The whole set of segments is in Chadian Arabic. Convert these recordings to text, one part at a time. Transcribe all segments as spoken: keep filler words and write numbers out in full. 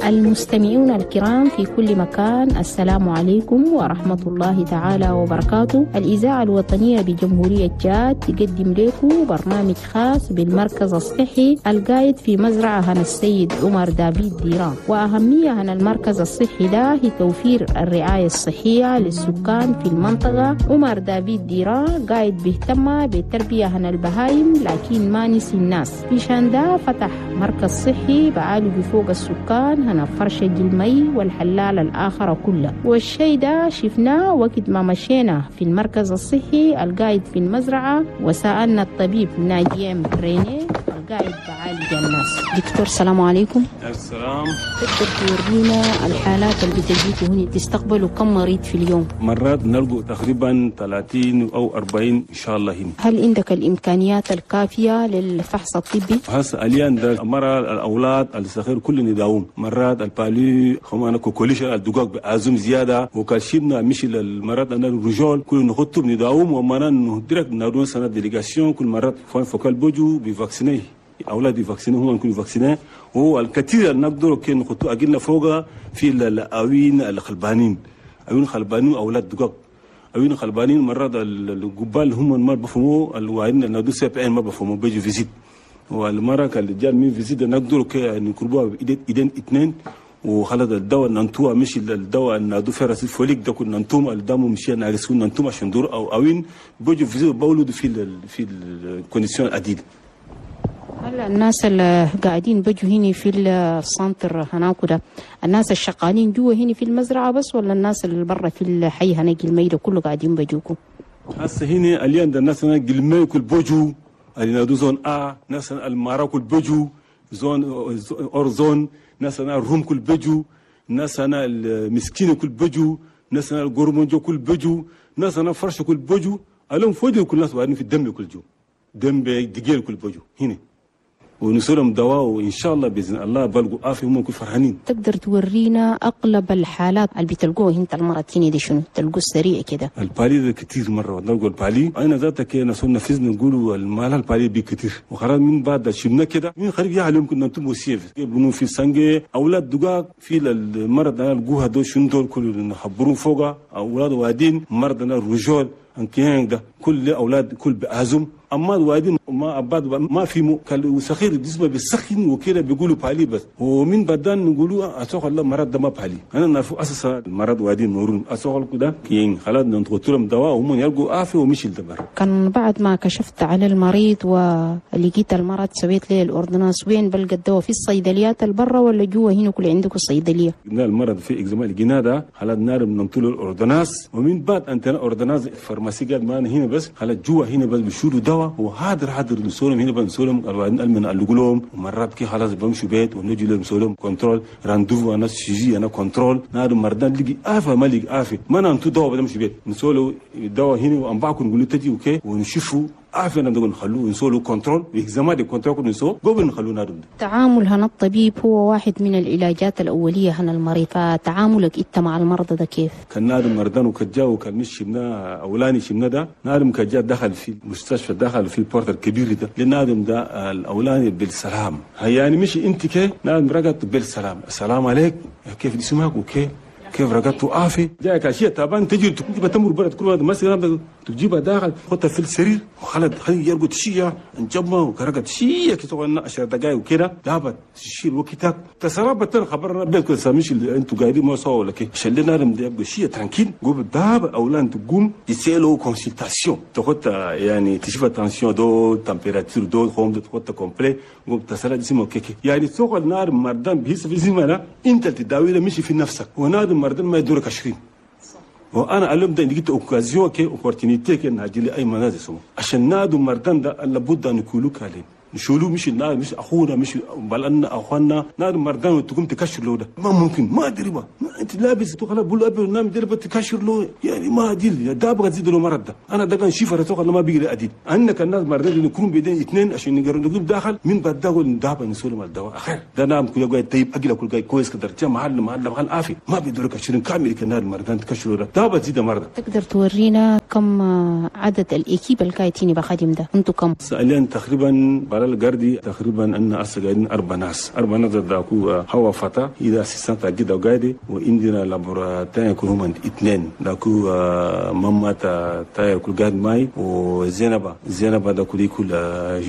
المستمعون الكرام في كل مكان، السلام عليكم ورحمة الله تعالى وبركاته. الإذاعة الوطنية بجمهورية تشاد تقدم لكم برنامج خاص بالمركز الصحي القايد في مزرعة هنا السيد عمر دافيد ديران. وأهمية هنا المركز الصحي ده هي توفير الرعاية الصحية للسكان في المنطقة. عمر دافيد ديران قايد بيهتم بالتربية هنا البهايم، لكن ما نسي الناس. في ده فتح مركز صحي بعالج فوق السكان هنا فرش الجلمي والحلال الآخر كله. والشيء ده شفناه وقت ما مشينا في المركز الصحي القايد في المزرعة وسألنا الطبيب ناجيم ريني القايد بعالج الناس. دكتور السلام عليكم. السلام. تقدر تورينا الحالات اللي بتجيكوا هنا؟ تستقبلوا كم مريض في اليوم؟ مرات نلقوا تقريبا ثلاثين أو أربعين إن شاء الله هنا. هل عندك الإمكانيات الكافية للفحص الطبي؟ هسه الآن ده مرة الأولاد الصغير كل نداوم، مرات ال palu خمانة coqueluche الدقاق بأزم زيادة وكالشيبنا مشي للمرات أنا ال rougeole كل نخطب نداوم ومرات direct نادون سنة délégation كل مرات point focal بوجو بي vacciner أولاد vacciné هم يكونوا vaccinés. هو الكثير اللي نقدر كي نخطو أجلنا فوقه في الأوين الخلبانين، أوين خلبانين أولاد دقاق، أوين خلبانين مرات الجبال هم ما بفهموا الوعين نادو CPN ما بفهموا بيجوا visite. والمرة كان من visite نقدر كي نقربوها إيدين اثنين وخلط الدواء ننتوها مش الدواء نادو fer acide folique ده كنا ننتوم الدم مشي ناقص ننتوم عشان دور أو أوين بيجوا visite بولد في ال في ال conditions عديد. هلا الناس اللي قاعدين بيجوا هنا في ال centre هناك ده الناس الشغالين جوا هنا في المزرعة بس ولا الناس اللي برا في الحي هناك الميلة كله قاعدين بيجوكم؟ هسه هنا اليوم ده الناس هنا قلمي كل بوجو اللي نادو zone A، ناس المارا كل بوجو zone hors zone، ناس انا الروم كل بجو، ناس انا المسكين كل بجو، ناس انا القرمنجو كل بجو، ناس انا فرش كل بجو، اليوم فوجو كل ناس وعدين في الدم كل جو دم دقيل كل بجو هنا ونسولهم دواء وان شاء الله باذن الله بلقوا عافية هم كل فرحانين. تقدر تورينا اغلب الحالات اللي بتلقوه انت المرض هنا دي شنو؟ تلقوه سريع كده؟ ال palu ده كثير مرة نلقوا ال palu، انا ذاتك نسول نفذنا نقولوا المال ال palu بي كثير وخلاص من بعد شبنا كده من خريب يا عليهم كنا انتم وسيف بنو في سانجي اولاد دقاق في المرض انا لقوها دول شنو دول كل نخبرون فوقها اولاد وادين مرض انا rougeole انكيان ده كل اولاد كل بأزم. اما الوادين ما اباد ما في مو وسخير جسمه بيسخن وكده بيقولوا palu بس ومن بدان نقولوا اسوق الله مرض ده ما palu. انا نعرف اساسا المرض وادين نورون اسوق كده كين خلاص ننطلهم دواء وهم يلقوا عافية ومشي الدبر. كان بعد ما كشفت على المريض ولقيت المرض سويت له ال ordonnance، وين بلقى الدواء؟ في الصيدليات البرة ولا جوا هنا كل عندكم الصيدلية؟ المرض في examen لقيناه ده خلاص نار ننطلوا ال ordonnance ومن بعد انت ordonnance pharmacie قال ما هنا بس خلاص جوا هنا بس بيشيلوا دواء وحاضر حاضر نسولهم هنا بنسولهم الوالدين المن لهم ومرات كي خلاص بمشوا بيت ونجي لهم نسولهم contrôle rendez-vous انا suivi انا contrôle نادو مردان لقي افه ما لقي افه ما ننتو دواء بنمشي بيت نسولو الدواء هنا وانبعكم نقول تجي okay ونشوفوا عارفين نقول نخلوه نسولو contrôle و examen de contrôle نسو قبل نخلوه نادو. تعامل هنا الطبيب هو واحد من العلاجات الاولية هنا المريض، فتعاملك انت مع المرضى ده كيف؟ كان نادم مردان وكجا وكان مش شبنا اولاني شبنا ده نادم كجا دخل في المستشفى دخل في ال porte الكبير ده لنادم ده الاولاني بالسلام يعني مش انت كي نادم رقدت بالسلام السلام عليك كيف اسمك okay كيف رقدت عافية جاك اشياء تعبان تجي تجيب تمر برد كل ما مثلا تجيبها داخل تحطها في السرير وخلت خلي يرقد شيء نجمه وكرقد شيء كي تقعد عشر دقائق وكده دابت تشيل وقتك تسربت خبرنا بيت كل سامش اللي انتوا قاعدين ما سوا ولا كي شلنا لهم ده يبقى شيء tranquille قوم داب اولان تقوم تسالوا consultation تحط يعني تشوف tension دو température دو خوم تحط complet قوم تسرى جسمه كيكي يعني سوق النار مردان بيس في زمانه انت تداوي مش في نفسك ونادم مردان ما يدورك عشرين. وانا اليوم ده لقيت occasion كي opportunité كي نهاجي لي اي منازل سمو عشان نادو مردان ده لابد ان يكونوا كالين نشولو مش النار مش اخونا مش بلنا اخواننا نار مردان وتقوم تكشر له ده ما ممكن ما ادري ما, ما انت لابس تخلا بقول ابي نام درب تكشر له يعني ما ادري ده ابغى تزيد له مرض ده انا ده كان شيفر توقع ما بيجري اديد انك الناس مردان نكون بيدين اثنين عشان نقدر نقوم داخل من بعد ده ندابه نسولم الدواء اخر ده نام كل قاعد طيب اجل كل قاعد كويس كدر محل محل محل عافي ما بيدرك عشرين كامل كنار مردان تكشر له ده بتزيد مرض. تقدر تورينا كم عدد ال équipe الكايتيني بخدم ده انتم كم؟ سالين تقريبا القردي تقريبا ان قاعدين اربع ناس اربع ناس داكو هوا فتا اذا assistante كده وقاعدي وعندنا laborantin يكون هم اثنين داكو ماما تا تا يكون قاعد ماي وزينبه زينبه داكو يكون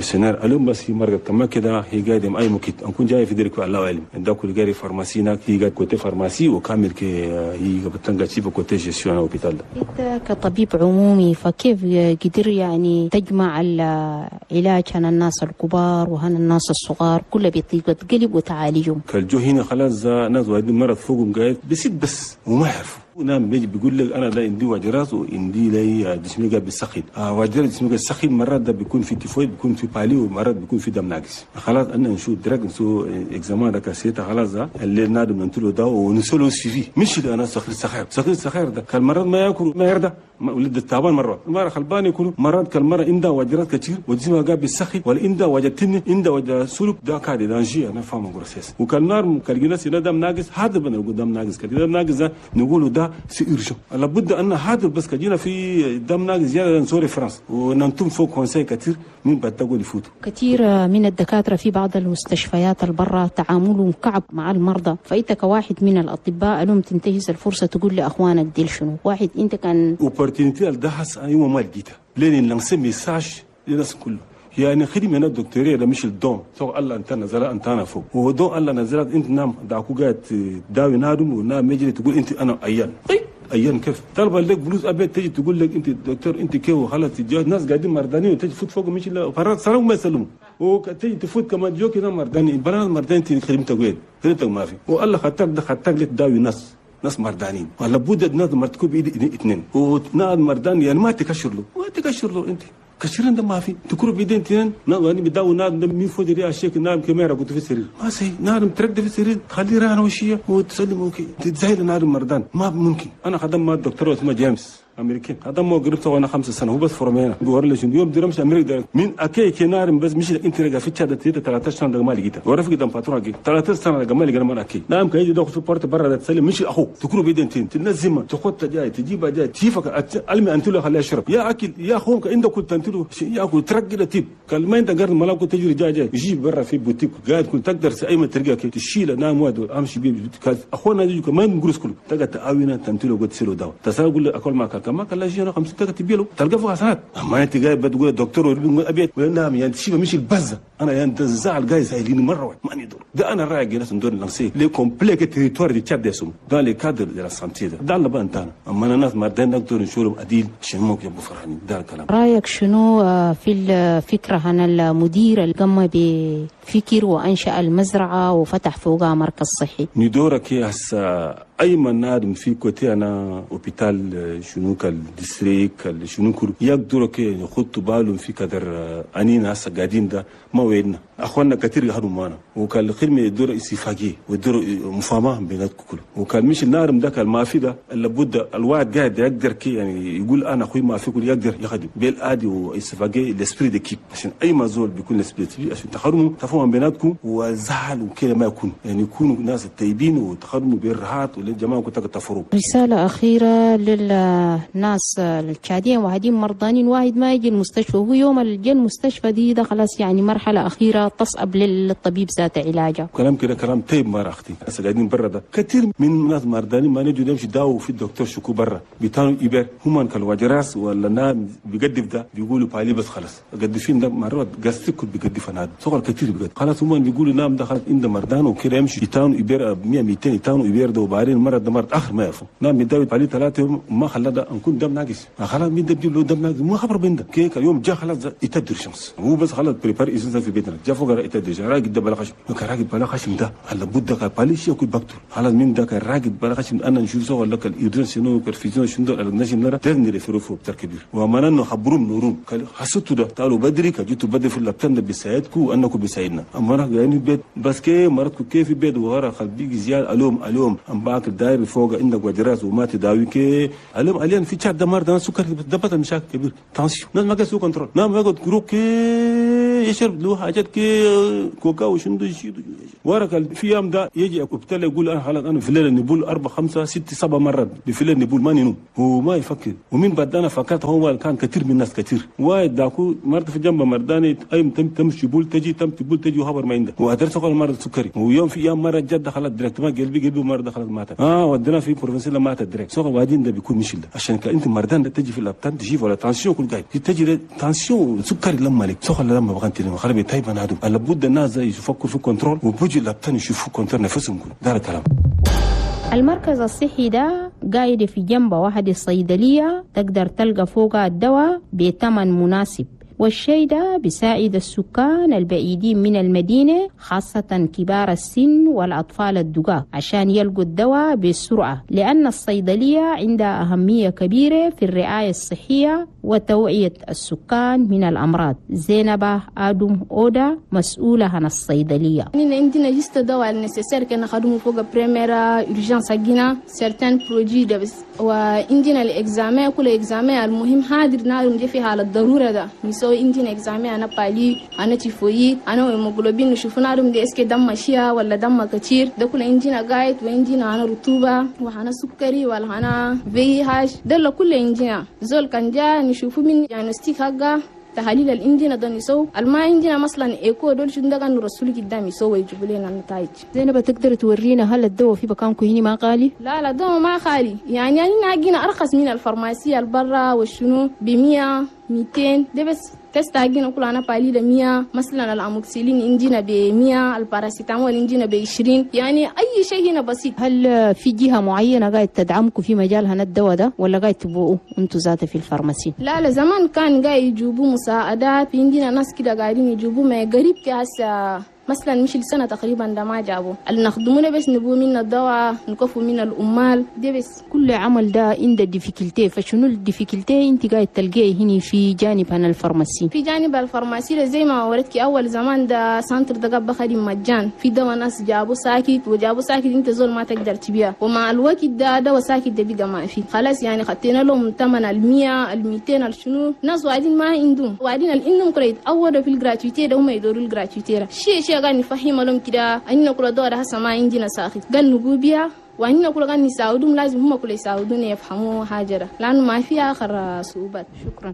gestionnaire اليوم بس هي مرة كما كده هي قاعدة اي مكت نكون جاي في درك الله اعلم داكو قاعد pharmacie هناك هي قاعد côté pharmacie وكامل كي هي بتنقى شيف côté gestion hôpital. انت كطبيب عمومي فكيف قدر يعني تجمع العلاج عن الناس الكبار وهن الناس الصغار كله بطيبة قلب وتعالجهم؟ كالجو هنا خلاص ناس واحد مرض فوقهم قاعد بسيط بس وما يعرفوا نعم بيجي بيقول لك انا ده عندي وجع راس وعندي لي جسمي قاعد بيسخن آه وجع جسمي قاعد بيسخن مرات ده بيكون في تيفويد بيكون في palu ومرات بيكون في دم ناقص. خلاص انا نشوف direct نسو examen ده كاسيتا خلاص ده اللي نادم ننتلو ده ونسولو suivi مش ده انا سخير سخير سخير سخير ده كان مرات ما ياكل ما يرضى ولد التعبان مرات مرة خلبان يكونوا مرات كل مرة عنده وجرات كثير وجسمه قاعد بيسخن ولا عنده وجع تني عنده وجع سلوك ده كاد danger انا فاهم grossesse وكان نار كان ناس دم ناقص هذا بنقول دم ناقص كده دم ناقص نقوله ده c'est urgent لابد ان هذا بس كجينا في دم ناقص زيادة نسوري فرنسا وننتم فوق conseil كثير من بتقول يفوتوا. كثير من الدكاترة في بعض المستشفيات البرة تعاملهم كعب مع المرضى، فانت كواحد من الاطباء لهم تنتهز الفرصة تقول لاخوانك ديل شنو؟ واحد انت كان opportunité ده حس يوم ما لقيتها لين lancer message للناس كله يعني خدمة هنا الدكتوريه ده مش ال don سو الله انت نزل انت انا فوق هو don الله نزلت انت نام داكو قاعد تداوي نادم ونام يجري تقول انت انا عيان طيب ايام كيف طلب لك فلوس ابيت تجي تقول لك انت دكتور انت كيف وخلاص تجي ناس قاعدين مردانين وتجي تفوت فوق مش لا فرات سلام ما يسلموا وتجي تفوت كمان جوك هنا مرداني بلا مرداني انت خدمتك وين خدمتك ما في والله خدتك ده خدتك لك تداوي ناس ناس مردانين ولا بد ناس مرتكب بايد اثنين وناس مردان يعني ما تكشر له ما تكشر له انت كشرين ده ما في تكرو بيدين تنين نعم بداو نادم مين فوق دي اشيك نادم كاميرا كنت في السرير ما سي نادم ترد في السرير تخلي رانه وشيه وتسلم اوكي تتزايل نادم مردان ما ممكن. انا خدم مع الدكتور اسمه جيمس امريكي هذا مو قربته وانا خمسة سنة هو بس فرمينا بيوري لي يوم درمش امريكا من اكي كنار بس مش انت رجع في تشاد ثلاثة عشر سنة ما لقيتها ورفق قدام فاتورة ثلاثة عشر سنة ما لقيت ما اكي نعم كان يجي داخل في بورت برا تسلم مش اخوك تكرو بيدين تنزم تخط جاي تجيبها جاي تشيفك المي انت له خليه يشرب يا اكل يا اخوك عندك كنت انت له ياكل ترقي تيب قال ما انت قرن ملاك تجري جاي جاي يجيب برا في بوتيك قاعد كنت تقدر اي ما ترقى تشيل نام واد امشي بيه اخونا يجي ما نقرس كله تقعد تاوينا تمتلو قلت سيلو دواء تسال اكل ما كما قال لا خمسين تلقى تبيله تلقى فوق حسنات. اما انت جاي بتقول الدكتور ابيض ولا نعم يعني تشيبه مش البزه انا يعني الزعل جاي زايلين مرة واحدة ما ندور ده انا رايي ناس ندور lancer les complets territoire du تشاد ديسوم dans les cadres de la santé ده ده اللي بقى انت اما انا ناس مردين نقدر نشورهم اديل شنو يبقوا فرحانين ده الكلام. رايك شنو في الفكرة عن المدير اللي قام بفكر وانشا المزرعة وفتح فوقها مركز صحي؟ ندورك هسه اي من نادم في côté انا hôpital شنو كال district شنو كل يقدروا كي يخطوا بالهم في كدر انينا هسه قاعدين ده ما ويدنا اخواننا كثير يهدوا معنا وكان الخدمة يدور استفاقيه ويدور مفاهمه بيناتكم كله وكان مش النار ده كان ما في ده لابد الواحد قاعد يقدر كي يعني يقول انا اخوي ما في كل يقدر يخدم بالادي واستفاقيه l'esprit d'équipe عشان اي ما زول بيكون l'esprit عشان تخدموا تفاهم بيناتكم وزعل وكده ما يكون يعني يكونوا ناس طيبين وتخدموا بالراحات والجماعة كنت تفروا. رسالة اخيرة للناس التشاديين واحدين مرضانين واحد ما يجي المستشفى وهو يوم اللي المستشفى دي ده خلاص يعني مرحلة اخيرة تصعب للطبيب ذات علاجه. كلام كده كلام طيب ما اختي هسه قاعدين برا ده كثير من ناس مرضانين ما نجوا نمشي داو في الدكتور شكو برا بيتانو يبر هم كان راس ولا نام بيقدف ده بيقولوا palu بس خلاص قدفين ده مرات قاستك بيقدف انا صغر كثير بيقدف خلاص هم بيقولوا نام ده خلاص انت مرضان وكده يمشي يتانو يبر مية مئتين يتانو يبر ده وبعدين مرض ده مرض اخر ما يعرفوا نام يداوي palu ثلاثة يوم ما خلى ده نكون دم ناقص خلاص مين ده بيجيب له دم ناقص ما خبر بين ده كيك اليوم جا خلاص يتدر شمس هو بس خلاص prépare إذا في بيتنا جا فوق يتدر راقد ده بلا خشم راقد بلا خشم ده هلا بد ده palu شيء يكون بكتور خلاص مين ده كان راقد بلا خشم انا نشوف سوا لك الإيران شنو كرفيزون شنو الناس نرى تغني ريفرو بتاع كبير وما انه خبروم نوروم قال حسيتوا ده تعالوا بدري كجيتوا بدري في اللبتان ده بيساعدكم وانكم بيساعدنا اما انا يعني البيت بس كي مرتكم كيف في بيت وغيرها خلبيك زياد الوم الوم ام باكر داير فوق عندك وجراس وما تداوي كي الوم الين في تشاد دمار ده سكر ده بطل مشاكل كبير tension ناس ما sous contrôle نعم ما قد كي يشرب له حاجات كي كوكا وشندو يشيدو ورك في يوم ده يجي ابتلى يقول انا خلاص انا في الليل نبول اربع خمسة ست سبع مرات في الليل نبول ما ننوم هو ما يفكر. ومن بعد انا فكرت هو كان كثير من الناس كثير وايد داكو مرت في جنب مرداني اي تم تمشي بول تجي تم تبول تجي وخبر ما عنده وادرس قال مرض سكري. ويوم في ايام مرة جد دخلت direct ما قلبي قلبي مرة دخلت ماتت اه ودينا في province ماتت direct سوق وادين ده بيكون مش ده عشان انت مردان ده تجي في l'hôpital تجي ولا tension كل قاعد تجي tension سكري لما لك سوق لما بغنتي لما خرب طيب انا هذا لابد الناس يفكروا في contrôle وبوجي l'hôpital يشوفوا contrôle نفسهم كله ده الكلام. المركز الصحي ده قاعد في جنب واحد الصيدلية تقدر تلقى فوقها الدواء بثمن مناسب، والشيء ده بيساعد السكان البعيدين من المدينة خاصة كبار السن والأطفال الدقاق عشان يلقوا الدواء بسرعة، لأن الصيدلية عندها أهمية كبيرة في الرعاية الصحية وتوعية السكان من الأمراض. زينب آدم أودا مسؤولة عن الصيدلية. عندنا juste دواء ال nécessaire كنا خدمة فوق première urgence حقنا certains produits ده بس، وعندنا ال examen كل examen المهم حاضر نعرف في حالة الضرورة ده نسوي عندنا examen أنا palu أنا تيفويد أنا هيموغلوبين نشوف نعرف دي est-ce que دم ماشية ولا دم كتير ده كل عندنا قايد، وعندنا أنا رطوبة وأنا سكري ولا أنا VIH ده كل عندنا زول كان جا نشوفه من diagnostic حقه تحاليل الإنجينا ده نسو الما عندنا مثلا écho دول شو ده كان رسول قدام يسوي يجيبوا لنا النتائج. زينب تقدر تورينا هل الدواء في مكانكم هنا ما غالي؟ لا لا الدواء ما غالي، يعني يعني ناقينا أرخص من ال pharmacie البرا والشنو بمية ميتين ده بس test حقنا كل أنا palu ده مية مثلا الأموكسيلين عندنا بمية الباراسيتامول عندنا بعشرين، يعني أي شيء هنا بسيط. هل في جهة معينة قاعد تدعمكم في مجال هنا الدواء ده ولا قاعد تبقوا أنتوا ذاته في ال pharmacie؟ لا لا زمان كان قاعد يجيبوا مساعدات في عندنا ناس كده قاعدين يجيبوا ما قريب كهسه مثلا مش السنة تقريبا ده ما جابوا اللي نخدمونا بس نبو منا الدواء نكفوا من الأمال دي بس. كل عمل ده عند difficulté، فشنو ال difficulté انت قاعد تلقيه هنا في جانب هنا ال pharmacie؟ في جانب ال pharmacie زي ما وردك أول زمان ده centre ده قبل خدم مجان في دواء ناس جابوا ساكت وجابوا ساكت انت زول ما تقدر تبيع، ومع الوقت ده دواء ساكت ده بقى ما في خلاص، يعني خدتنا لهم ثمن المية الميتين الشنو ناس وعدين ما عندهم وعدين الإنهم كره يتعودوا في ال gratuité ده هم يدوروا ال gratuité شيء شيء قال نفهم لهم كده أننا كل دور هسه ما عندنا ساخت قال نبوبيا وأننا كل قال نساعدهم لازم هم كل يساعدون يفهموا حاجة لأنه ما في آخر صعوبات. شكرا.